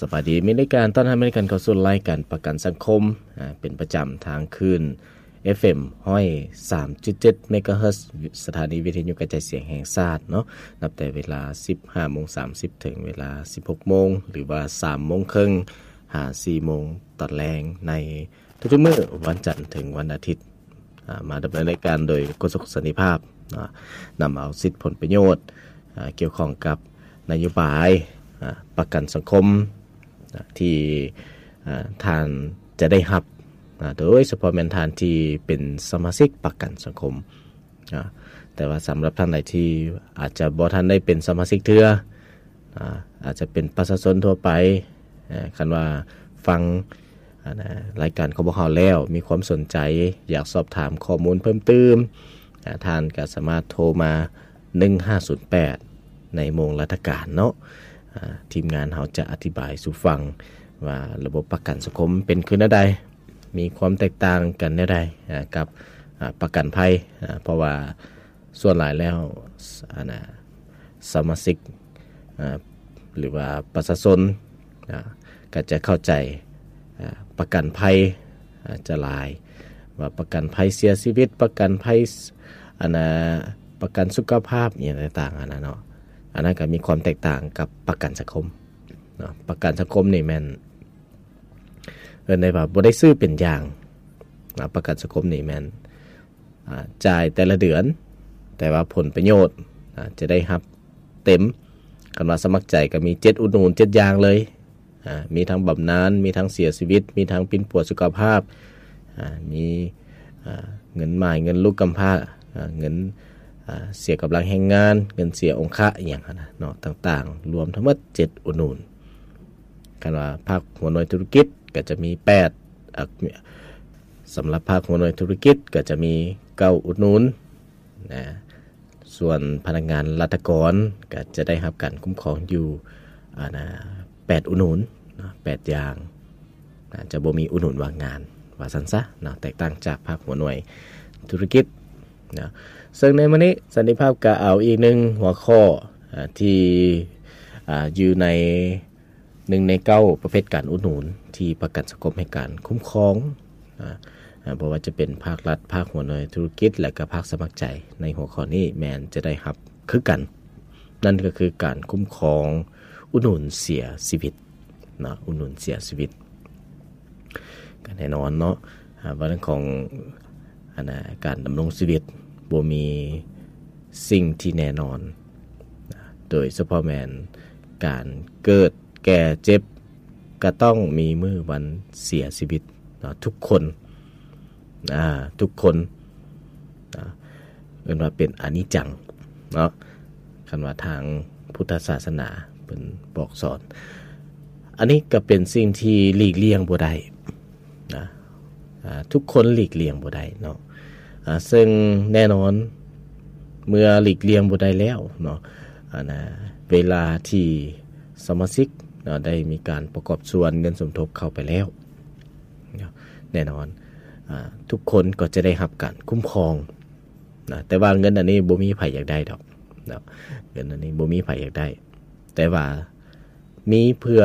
ສະບາຍດີ ມີລາຍການຕ້ອນຮັບ ມີລາຍການເຂົ້າສູ່ລາຍການປະກັນສັງຄົມ ອາ ເປັນປະຈຳທາງຄື້ນ ເອັຟເອັມ ຮ້ອຍສາມຈຸດເຈັດ ເມກາເຮີດ ສະຖານີວິທະຍຸກະຈາຍສຽງແຫ່ງຊາດເນາະ ນັບແຕ່ເວລາສິບຫ້າໂມງສາມສິບ ເຖິງເວລາສິບຫົກໂມງ ຫຼືວ່າສາມໂມງເຄິ່ງ ຫາສີ່ໂມງຕອນແລງ ໃນທຸກໆມື້ ວັນຈັນເຖິງວັນອາທິດ. ອາ ມາດຳເນີນລາຍການໂດຍໂຄສົກສັນຕິພາບ ນຳເອົາສິດຜົນປະໂຫຍດ ອາ ກ່ຽວຂ້ອງກັບນະໂຍບາຍ ອາ ປະກັນສັງຄົມ ອາ ທີ່ ອາ ທ່ານຈະໄດ້ຮັບ ອາ ໂດຍສະເພາະແມ່ນທ່ານທີ່ເປັນສະມາຊິກປະກັນສັງຄົມ ອາ ແຕ່ວ່າສຳລັບທ່ານໃດທີ່ອາດຈະບໍ່ທັນໄດ້ເປັນສະມາຊິກເທື່ອ ອາ ອາດຈະເປັນປະຊາຊົນທົ່ວໄປ ເອີ ຄັນວ່າຟັງ ອັນ ລາຍການຂອງພວກເຮົາແລ້ວ ມີຄວາມສົນໃຈ ຢາກສອບຖາມຂໍ້ມູນເພີ່ມຕື່ມ ອາ ທ່ານກໍສາມາດໂທມາ ໜຶ່ງຫ້າສູນແປດ ໃນໂມງລັດຖະການເນາະ ອາ ທີມງານເຮົາຈະອະທິບາຍສູ່ຟັງວ່າລະບົບປະກັນສັງຄົມເປັນຄືແນວໃດ ມີຄວາມແຕກຕ່າງກັນແນວໃດ ອາ ກັບ ອາ ປະກັນໄພ ອາ ເພາະວ່າ ສ່ວນຫຼາຍແລ້ວ ອັນ ສະມາຊິກ ອາ ຫຼືວ່າປະຊາຊົນ ອາ ກໍຈະເຂົ້າໃຈ ອາ ປະກັນໄພ ອາ ຈະຫຼາຍ ວ່າປະກັນໄພເສຍຊີວິດ ປະກັນໄພ ອັນ ປະກັນສຸຂະພາບ ອີ່ຫຍັງຕ່າງໆ ອັນນັ້ນເນາະ ອັນນັ້ນກໍມີຄວາມແຕກຕ່າງກັບປະກັນສັງຄົມເນາະ ປະກັນສັງຄົມນີ້ແມ່ນ ເອີ້ນໄດ້ວ່າບໍ່ໄດ້ຊື້ເປັນຢ່າງນະ ປະກັນສັງຄົມນີ້ແມ່ນ ອາ ຈ່າຍແຕ່ລະເດືອນ ແຕ່ວ່າຜົນປະໂຫຍດ ອາ ຈະໄດ້ຮັບເຕັມ ຄັນວ່າສະໝັກໃຈກໍມີເຈັດອຸດໜູນ ເຈັດຢ່າງເລີຍ ອາ ມີທັງບຳນານ ມີທັງເສຍຊີວິດ ມີທັງປິ່ນປົວສຸຂະພາບ ອາ ມີ ອາ ເງິນໝ້າຍ ເງິນລູກກຳພ້າ ອາ ເງິນ ອາ ເສຍກຳລັງແຮງງານ ເງິນເສຍອົງຄະ ອີ່ຫຍັງຫັ້ນນະເນາະ ຕ່າງໆ ລວມທັງໝົດເຈັດອຸດໜູນ. ຄັນວ່າພາກຫົວໜ່ວຍທຸລະກິດກໍຈະມີແປດ ອາ ສຳລັບພາກຫົວໜ່ວຍທຸລະກິດກໍຈະມີເກົ້າອຸດໜູນນະ ສ່ວນພະນັກງານລັດຖະກອນກໍຈະໄດ້ຮັບການຄຸ້ມຄອງຢູ່ ອັນ ແປດອຸດໜູນເນາະ ແປດຢ່າງນະ ຈະບໍ່ມີອຸດໜູນວ່າງງານ ວ່າຊັ້ນຊະເນາະ ແຕກຕ່າງຈາກພາກຫົວໜ່ວຍທຸລະກິດເນາະ. ເຊິ່ງໃນມື້ນີ້ສັນຕິພາບກໍເອົາອີກໜຶ່ງຫົວຂໍ້ ອາ ທີ່ ອາ ຢູ່ໃນ ໜຶ່ງໃນເກົ້າປະເພດການອຸດໜູນທີ່ປະກັນສັງຄົມໃຫ້ການຄຸ້ມຄອງ ອາ ອາ ບໍ່ວ່າຈະເປັນພາກລັດ, ພາກຫົວໜ່ວຍທຸລະກິດ ແລະ ກະພາກສະໝັກໃຈ ໃນຫົວຂໍ້ນີ້ແມ່ນຈະໄດ້ຮັບຄືກັນ, ນັ້ນກໍຄືການຄຸ້ມຄອງອຸດໜູນເສຍຊີວິດເນາະ, ອຸດໜູນເສຍຊີວິດ. ກໍແນ່ນອນເນາະ ອາ ວ່າເລື່ອງຂອງ ອັນນະ ການດຳລົງຊີວິດບໍ່ມີສິ່ງທີ່ແນ່ນອນ ໂດຍສະເພາະແມ່ນການເກີດ ແກ່ເຈັບ ກະຕ້ອງມີມື້ວັນເສຍຊີວິດເນາະ ທຸກຄົນ ອາ ທຸກຄົນ ອາ ເອີ້ນວ່າເປັນອະນິດຈັງເນາະ ຄັນວ່າທາງພຸດທະສາສະໜາເພິ່ນບອກສອນ. ອັນນີ້ກະເປັນສິ່ງທີ່ຫຼີກລ່ຽງບໍ່ໄດ້ນະ ອາ ທຸກຄົນຫຼີກລ່ຽງບໍ່ໄດ້ເນາະ ອາ ເຊິ່ງແນ່ນອນ ເມື່ອຫຼີກລ່ຽງບໍ່ໄດ້ແລ້ວເນາະ ອັນນະ ເວລາທີ່ສະມາຊິກເນາະ ໄດ້ມີການປະກອບສ່ວນເງິນສົມທົບເຂົ້າໄປແລ້ວເນາະ ແນ່ນອນ ອາ ທຸກຄົນກໍຈະໄດ້ຮັບການຄຸ້ມຄອງນະ ແຕ່ວ່າເງິນອັນນີ້ບໍ່ມີໃຜຢາກໄດ້ດອກເນາະ ເງິນອັນນີ້ບໍ່ມີໃຜຢາກໄດ້ ແຕ່ວ່າມີເພື່ອ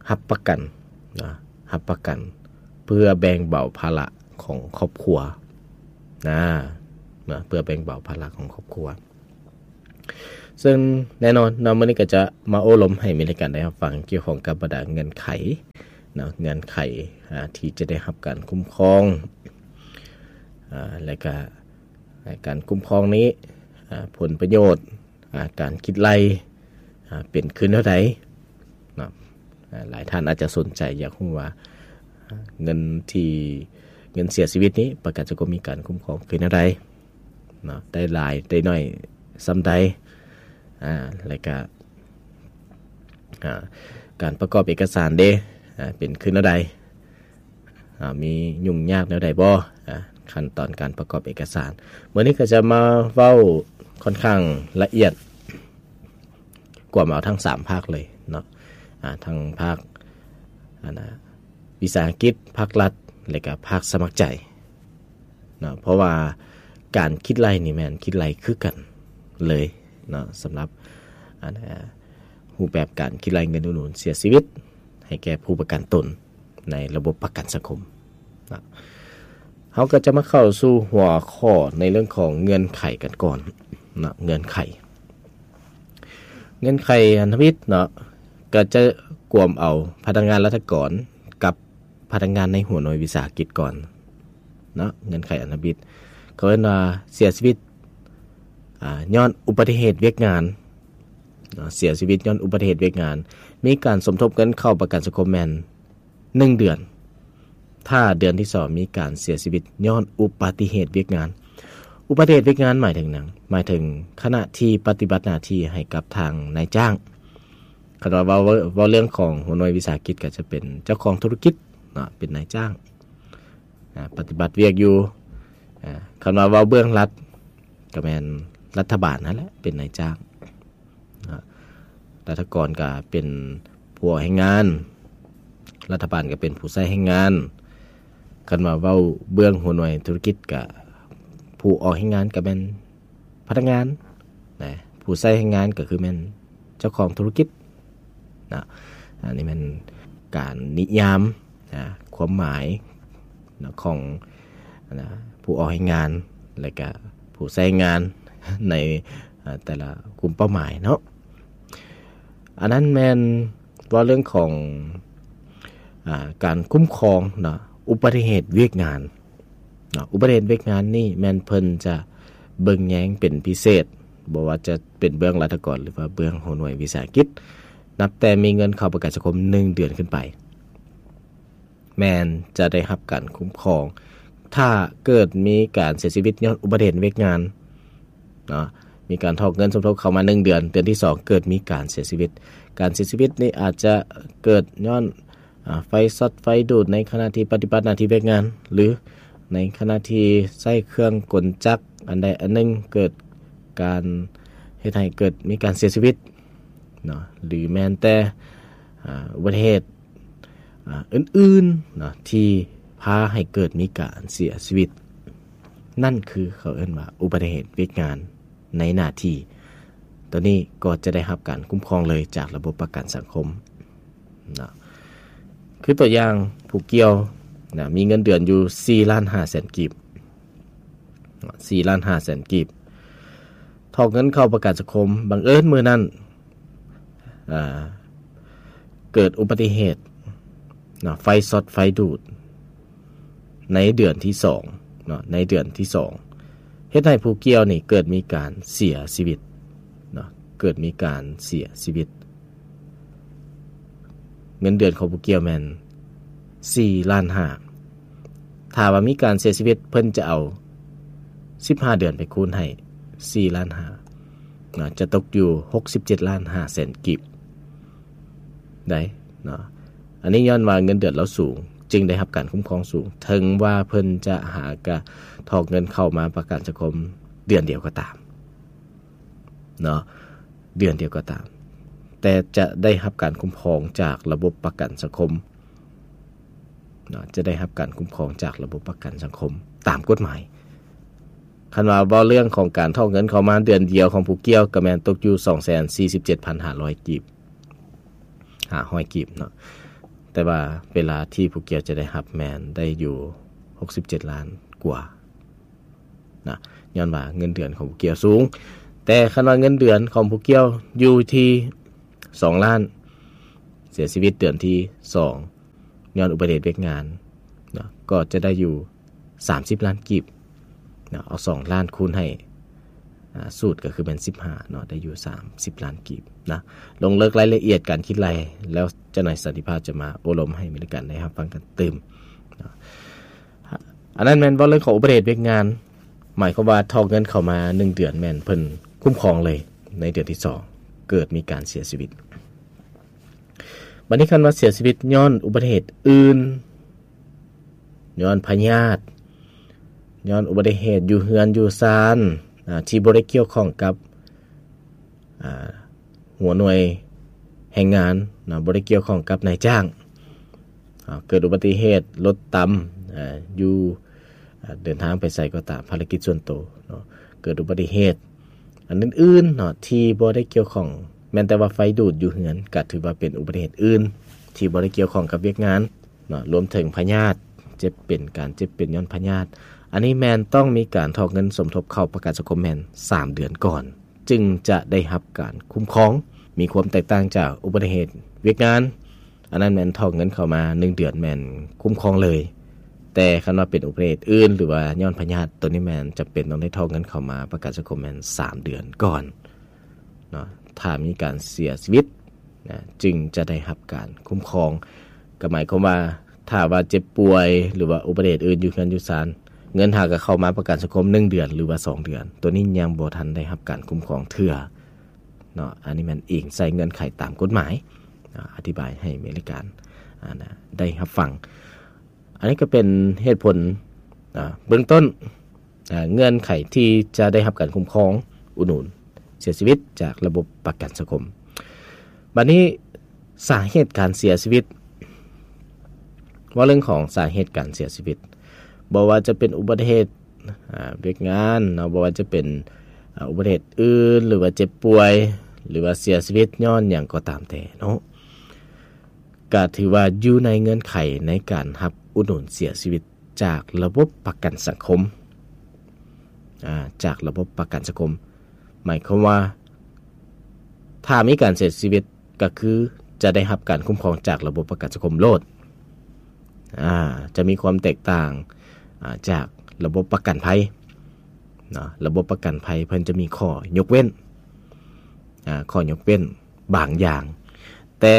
ຮັບປະກັນນະ ຮັບປະກັນເພື່ອແບ່ງເບົາພາລະຂອງຄອບຄົວນະ ນະ ເພື່ອແບ່ງເບົາພາລະຂອງຄອບຄົວ. ເຊິ່ງແນ່ນອນເນາະ ມື້ນີ້ກໍຈະມາໂອ້ລົມໃຫ້ມີລາຍການໄດ້ຮັບຟັງກ່ຽວຂ້ອງກັບບັນດາເງື່ອນໄຂເນາະ ເງື່ອນໄຂ ອາ ທີ່ຈະໄດ້ຮັບການຄຸ້ມຄອງ ອາ ແລະກະ ການຄຸ້ມຄອງນີ້ ອາ ຜົນປະໂຫຍດ ອາ ການຄິດໄລ່ ອາ ເປັນຄືແນວໃດເນາະ ອາ ຫຼາຍທ່ານອາດຈະສົນໃຈຢາກຮູ້ວ່າ ອາ ເງິນທີ່ ເງິນເສຍຊີວິດນີ້ ປະກັນສັງຄົມມີການຄຸ້ມຄອງຄືແນວໃດເນາະ ໄດ້ຫຼາຍໄດ້ໜ້ອຍສ່ຳໃດ ອາ ແລະກະ ອາ ການປະກອບເອກະສານເດ ອາ ເປັນຄືແນວໃດ ອາ ມີຫຍຸ້ງຍາກແນວໃດບໍ່ ອາ ຂັ້ນຕອນການປະກອບເອກະສານ. ມື້ນີ້ກໍຈະມາເວົ້າຂ້ອນຂ້າງລະອຽດ ກວມເອົາທັງສາມພາກເລີຍເນາະ ອາ ທັງພາກ ອັນນະ ວິສາຫະກິດ, ພາກລັດ ແລະກະພາກສະໝັກໃຈເນາະ ເພາະວ່າການຄິດໄລ່ນີ້ແມ່ນຄິດໄລ່ຄືກັນເລີຍເນາະ ສຳລັບ ອັນນະ ຮູບແບບການຄິດໄລ່ເງິນອຸດໜູນເສຍຊີວິດໃຫ້ແກ່ຜູ້ປະກັນຕົນໃນລະບົບປະກັນສັງຄົມນະ. ເຮົາກໍຈະມາເຂົ້າສູ່ຫົວຂໍ້ໃນເລື່ອງຂອງເງື່ອນໄຂກັນກ່ອນນະ. ເງື່ອນໄຂ ເງື່ອນໄຂພັນທະມິດເນາະ ກໍຈະກວມເອົາພະນັກງານລັດຖະກອນກັບພະນັກງານໃນຫົວໜ່ວຍວິສາຫະກິດກ່ອນເນາະ. ເງື່ອນໄຂພັນທະມິດ ເຂົາເອີ້ນວ່າເສຍຊີວິດ ອາ ຍ້ອນອຸບັດຕິເຫດວຽກງານເນາະ, ເສຍຊີວິດຍ້ອນອຸບັດຕິເຫດວຽກງານ, ມີການສົມທົບເງິນເຂົ້າປະກັນສັງຄົມແມ່ນໜຶ່ງເດືອນ, ຖ້າເດືອນທີສອງມີການເສຍຊີວິດຍ້ອນອຸບັດຕິເຫດວຽກງານ. ອຸບັດຕິເຫດວຽກງານໝາຍເຖິງຫຍັງ? ໝາຍເຖິງຂະນະທີ່ປະຕິບັດໜ້າທີ່ໃຫ້ກັບທາງນາຍຈ້າງ. ຄັນວ່າເວົ້າ ເວົ້າເລື່ອງຂອງຫົວໜ່ວຍວິສາຫະກິດ ກໍຈະເປັນເຈົ້າຂອງທຸລະກິດເນາະ, ເປັນນາຍຈ້າງ ອາ ປະຕິບັດວຽກຢູ່. ອາ ຄັນວ່າເວົ້າເບື້ອງລັດ ກໍແມ່ນລັດຖະບານຫັ້ນແຫຼະເປັນນາຍຈ້າງເນາະ, ລັດຖະກອນກໍເປັນຜູ້ອອກແຮງງານ, ລັດຖະບານກໍເປັນຜູ້ໃຊ້ແຮງງານ. ຄັນວ່າເວົ້າເບື້ອງຫົວໜ່ວຍທຸລະກິດ ກໍຜູ້ອອກແຮງງານກໍແມ່ນ ພະນັກງານນະ, ຜູ້ໃຊ້ແຮງງານກໍຄືແມ່ນເຈົ້າຂອງທຸລະກິດນະ. ອັນນີ້ແມ່ນການນິຍາມນະ ຄວາມໝາຍນະ ຂອງນະ ຜູ້ອອກແຮງງານ ແລະກະຜູ້ໃຊ້ແຮງງານໃນ ອາ ແຕ່ລະກຸ່ມເປົ້າໝາຍເນາະ. ອັນນັ້ນແມ່ນເວົ້າເລື່ອງຂອງ ອາ ການຄຸ້ມຄອງເນາະ ອຸບັດຕິເຫດວຽກງານ ເນາະ. ອຸບັດຕິເຫດວຽກງານນີ້ແມ່ນເພິ່ນຈະເບິ່ງແຍງເປັນພິເສດ, ບໍ່ວ່າຈະເປັນເບື້ອງລັດຖະກອນ ຫຼືວ່າເບື້ອງຫົວໜ່ວຍວິສາຫະກິດ, ນັບແຕ່ມີເງິນເຂົ້າປະກັນສັງຄົມໜຶ່ງເດືອນຂຶ້ນໄປ ແມ່ນຈະໄດ້ຮັບການຄຸ້ມຄອງ. ຖ້າເກີດມີການເສຍຊີວິດຍ້ອນອຸບັດຕິເຫດວຽກງານເນາະ, ມີການຖອກເງິນສົມທົບເຂົ້າມາໜຶ່ງເດືອນ, ເດືອນທີສອງເກີດມີການເສຍຊີວິດ, ການເສຍຊີວິດນີ້ອາດຈະເກີດຍ້ອນ ອາ ໄຟຊັອດໄຟດູດໃນຂະນະທີ່ປະຕິບັດໜ້າທີ່ວຽກງານ ຫຼື ໃນຂະນະທີ່ໃຊ້ເຄື່ອງກົນຈັກອັນໃດອັນໜຶ່ງ ເກີດການເຮັດໃຫ້ເກີດມີການເສຍຊີວິດເນາະ ຫຼື ແມ່ນແຕ່ ອາ ອຸບັດຕິເຫດ ອາ ອື່ນໆເນາະ ທີ່ພາໃຫ້ເກີດມີການເສຍຊີວິດ, ນັ້ນຄືເຂົາເອີ້ນວ່າອຸບັດຕິເຫດວຽກງານໃນໜ້າທີ່. ໂຕນີ້ກໍຈະໄດ້ຮັບການຄຸ້ມຄອງເລີຍຈາກລະບົບປະກັນສັງຄົມ. ເນາະ ຄືຕົວຢ່າງຜູ້ກ່ຽວນະ ມີເງິນເດືອນຢູ່ສີ່ລ້ານຫ້າແສນກີບ ເນາະ ສີ່ລ້ານຫ້າແສນກີບ ຖອກເງິນເຂົ້າປະກັນສັງຄົມ, ບັງເອີນມື້ນັ້ນ ອາ ເກີດອຸບັດຕິເຫດເນາະ ໄຟຊັອດໄຟດູດ ໃນເດືອນທີສອງເນາະ ໃນເດືອນທີສອງ ເຮັດໃຫ້ຜູ້ກ່ຽວນີ້ເກີດມີການເສຍຊີວິດເນາະ ເກີດມີການເສຍຊີວິດ. ເງິນເດືອນຂອງຜູ້ກ່ຽວແມ່ນສີ່ລ້ານຫ້າ, ຖ້າວ່າມີການເສຍຊີວິດ ເພິ່ນຈະເອົາສິບຫ້າເດືອນໄປຄູນໃຫ້ສີ່ລ້ານຫ້າເນາະ ຈະຕົກຢູ່ຫົກສິບເຈັດລ້ານຫ້າແສນກີບໄດ້ເນາະ. ອັນນີ້ຍ້ອນວ່າເງິນເດືອນລາວສູງ ຈຶ່ງໄດ້ຮັບການຄຸ້ມຄອງສູງ, ເຖິງວ່າເພິ່ນຈະຫາກະຖອກເງິນເຂົ້າມາປະກັນສັງຄົມເດືອນດຽວກໍຕາມເນາະ ເດືອນດຽວກໍຕາມ, ແຕ່ຈະໄດ້ຮັບການຄຸ້ມຄອງຈາກລະບົບປະກັນສັງຄົມເນາະ ຈະໄດ້ຮັບການຄຸ້ມຄອງຈາກລະບົບປະກັນສັງຄົມຕາມກົດໝາຍ. ຄັນວ່າເວົ້າເລື່ອງຂອງການຖອກເງິນເຂົ້າມາເດືອນດຽວຂອງຜູ້ກ່ຽວ ກໍແມ່ນຕົກຢູ່ສອງແສນສີ່ສິບເຈັດພັນຫ້າຮ້ອຍກີບ ຫ້າຮ້ອຍກີບເນາະ, ແຕ່ວ່າເວລາທີ່ຜູ້ກ່ຽວຈະໄດ້ຮັບແມ່ນໄດ້ຢູ່ຫົກສິບເຈັດລ້ານກວ່ານະ, ຍ້ອນວ່າເງິນເດືອນຂອງຜູ້ກ່ຽວສູງ. ແຕ່ຄັນວ່າເງິນເດືອນຂອງຜູ້ກ່ຽວຢູ່ທີ່ສອງລ້ານ ເສຍຊີວິດເດືອນທີສອງ ຍ້ອນອຸບັດຕິເຫດວຽກງານເນາະ ກໍຈະໄດ້ຢູ່ສາມສິບລ້ານກີບເນາະ, ເອົາສອງລ້ານຄູນໃຫ້ ອາ ສູດກໍຄືແມ່ນສິບຫ້າເນາະ ໄດ້ຢູ່ສາມສິບລ້ານກີບນະ. ລົງເລິກລາຍລະອຽດການຄິດໄລ່ ແລ້ວເຈົ້ານາຍສັນຕິພາບຈະມາໂອ້ລົມໃຫ້ມີການໄດ້ຮັບຟັງກັນຕື່ມເນາະ. ອັນນັ້ນແມ່ນເວົ້າເລື່ອງຂອງອຸບັດຕິເຫດວຽກງານ, ໝາຍຄວາມວ່າຖອກເງິນເຂົ້າມາໜຶ່ງເດືອນ ແມ່ນເພິ່ນຄຸ້ມຄອງເລີຍ, ໃນເດືອນທີສອງເກີດມີການເສຍຊີວິດ. ບັດນີ້ຄັນວ່າເສຍຊີວິດຍ້ອນອຸບັດຕິເຫດອື່ນ, ຍ້ອນພະຍາດ, ຍ້ອນອຸບັດຕິເຫດຢູ່ເຮືອນຢູ່ຊານ ອາ ທີ່ບໍ່ໄດ້ກ່ຽວຂ້ອງກັບ ອາ ຫົວໜ່ວຍແຮງງານເນາະ, ບໍ່ໄດ້ກ່ຽວຂ້ອງກັບນາຍຈ້າງ, ອາ ເກີດອຸບັດຕິເຫດລົດຕຳ ອາ ຢູ່ ອາ ເດີນທາງໄປໃສກໍຕາມ, ພາລະກິດສ່ວນໂຕເນາະ, ເກີດອຸບັດຕິເຫດອັນອື່ນໆເນາະ ທີ່ບໍ່ໄດ້ກ່ຽວຂ້ອງ ແມ່ນແຕ່ວ່າໄຟດູດຢູ່ເຮືອນ ກໍຖືວ່າເປັນອຸບັດຕິເຫດອື່ນທີ່ບໍ່ໄດ້ກ່ຽວຂ້ອງກັບວຽກງານເນາະ, ລວມເຖິງພະຍາດ ເຈັບເປັນ ການເຈັບເປັນຍ້ອນພະຍາດ ອັນນີ້ແມ່ນຕ້ອງມີການຖອກເງິນສົມທົບເຂົ້າປະກັນສັງຄົມແມ່ນສາມເດືອນກ່ອນ ຈຶ່ງຈະໄດ້ຮັບການຄຸ້ມຄອງ. ມີຄວາມແຕກຕ່າງຈາກອຸບັດຕິເຫດວຽກງານ, ອັນນັ້ນແມ່ນຖອກເງິນເຂົ້າມາໜຶ່ງເດືອນແມ່ນຄຸ້ມຄອງເລີຍ, ແຕ່ຄັນວ່າເປັນອຸບັດຕິເຫດອື່ນ ຫຼືວ່າຍ້ອນພະຍາດ ໂຕນີ້ແມ່ນຈຳເປັນຕ້ອງໄດ້ຖອກເງິນເຂົ້າມາປະກັນສັງຄົມແມ່ນສາມເດືອນກ່ອນເນາະ. ຖ້າມີການເສຍຊີວິດນະ ຈຶ່ງຈະໄດ້ຮັບການຄຸ້ມຄອງ. ກໍໝາຍຄວາມວ່າ ຖ້າວ່າເຈັບປ່ວຍ ຫຼືວ່າອຸບັດຕິເຫດອື່ນຢູ່ເຮືອນຢູ່ຊານ ເງິນຫາກໍເຂົ້າມາປະກັນສັງຄົມໜຶ່ງເດືອນ ຫຼືວ່າສອງເດືອນ, ໂຕນີ້ຍັງບໍ່ທັນໄດ້ຮັບການຄຸ້ມຄອງເທື່ອເນາະ. ອັນນີ້ແມ່ນອີງໃສ່ເງື່ອນໄຂຕາມກົດໝາຍເນາະ, ອະທິບາຍໃຫ້ເມລິການ ອາ ນະ ໄດ້ຮັບຟັງ. ອັນນີ້ກໍເປັນເຫດຜົນ ອາ ເບື້ອງຕົ້ນ ອາ ເງື່ອນໄຂທີ່ຈະໄດ້ຮັບການຄຸ້ມຄອງອຸດໜູນເສຍຊີວິດຈາກລະບົບປະກັນສັງຄົມ. ບັດນີ້ສາເຫດການເສຍຊີວິດ, ເວົ້າເລື່ອງຂອງສາເຫດການເສຍຊີວິດ, ບໍ່ວ່າຈະເປັນອຸບັດຕິເຫດ ອາ ວຽກງານເນາະ, ບໍ່ວ່າຈະເປັນ ອາ ອຸບັດຕິເຫດອື່ນ ຫຼືວ່າເຈັບປ່ວຍ ຫຼືວ່າເສຍຊີວິດຍ້ອນຫຍັງກໍຕາມແຕ່ເນາະ, ກະຖືວ່າຢູ່ໃນເງື່ອນໄຂໃນການຮັບອຸດໜູນເສຍຊີວິດຈາກລະບົບປະກັນສັງຄົມ ອາ ຈາກລະບົບປະກັນສັງຄົມ. ໝາຍຄວາມວ່າ ຖ້າມີການເສຍຊີວິດ ກໍຄືຈະໄດ້ຮັບການຄຸ້ມຄອງຈາກລະບົບປະກັນສັງຄົມໂລດ. ອາ ຈະມີຄວາມແຕກຕ່າງ ອາ ຈາກລະບົບປະກັນໄພເນາະ, ລະບົບປະກັນໄພເພິ່ນຈະມີຂໍ້ຍົກເວັ້ນ ອາ ຂໍ້ຍົກເວັ້ນບາງຢ່າງ, ແຕ່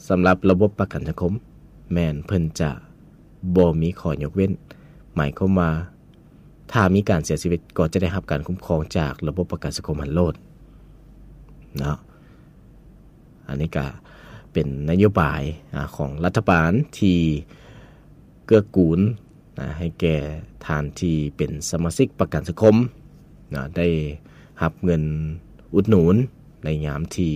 ສຳລັບລະບົບປະກັນສັງຄົມແມ່ນເພິ່ນຈະບໍ່ມີຂໍ້ຍົກເວັ້ນ. ໝາຍຄວາມວ່າ ຖ້າມີການເສຍຊີວິດ ກໍຈະໄດ້ຮັບການຄຸ້ມຄອງຈາກລະບົບປະກັນສັງຄົມຫັ້ນໂລດເນາະ. ອັນນີ້ກະເປັນນະໂຍບາຍ ອາ ຂອງລັດຖະບານທີ່ເກື້ອກູນ ນະ ໃຫ້ແກ່ທ່ານທີ່ເປັນສະມາຊິກປະກັນສັງຄົມນະ ໄດ້ຮັບເງິນອຸດໜູນໃນຍາມທີ່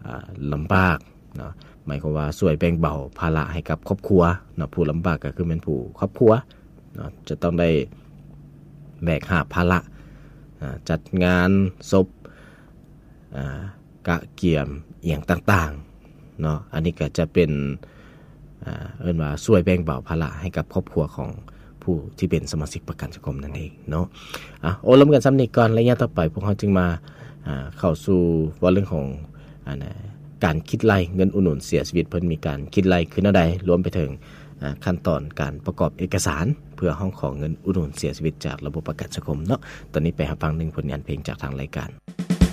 ອາ ລຳບາກເນາະ, ໝາຍຄວາມວ່າຊ່ວຍແບ່ງເບົາພາລະໃຫ້ກັບຄອບຄົວເນາະ. ຜູ້ລຳບາກກໍຄືແມ່ນຜູ້ຄອບຄົວເນາະ, ຈະຕ້ອງໄດ້ແບກຫາບພາລະ ອາ ຈັດງານສົບ ອາ ກະກຽມອີ່ຫຍັງຕ່າງໆເນາະ. ອັນນີ້ກໍຈະເປັນ ອາ ເອີ້ນວ່າຊ່ວຍແບ່ງເບົາພາລະໃຫ້ກັບຄອບຄົວຂອງຜູ້ທີ່ເປັນສະມາຊິກປະກັນສັງຄົມນັ້ນເອງເນາະ. ອາ ໂອ້ລົມກັນສ່ຳນີ້ກ່ອນ, ໄລຍະຕໍ່ໄປພວກເຮົາຈຶ່ງມາ ອາ ເຂົ້າສູ່ເວົ້າເລື່ອງຂອງ ອັນ ການຄິດໄລ່ເງິນອຸດໜູນເສຍຊີວິດ, ເພິ່ນມີການຄິດໄລ່ຄືແນວໃດ, ລວມໄປເຖິງ ອາ ຂັ້ນຕອນການປະກອບເອກະສານ ເພື່ອຮ້ອງຂໍເງິນອຸດໜູນເສຍຊີວິດຈາກລະບົບປະກັນສັງຄົມເນາະ. ຕອນນີ້ໄປຮັບຟັງໜຶ່ງຜົນງານເພງຈາກທາງລາຍການ.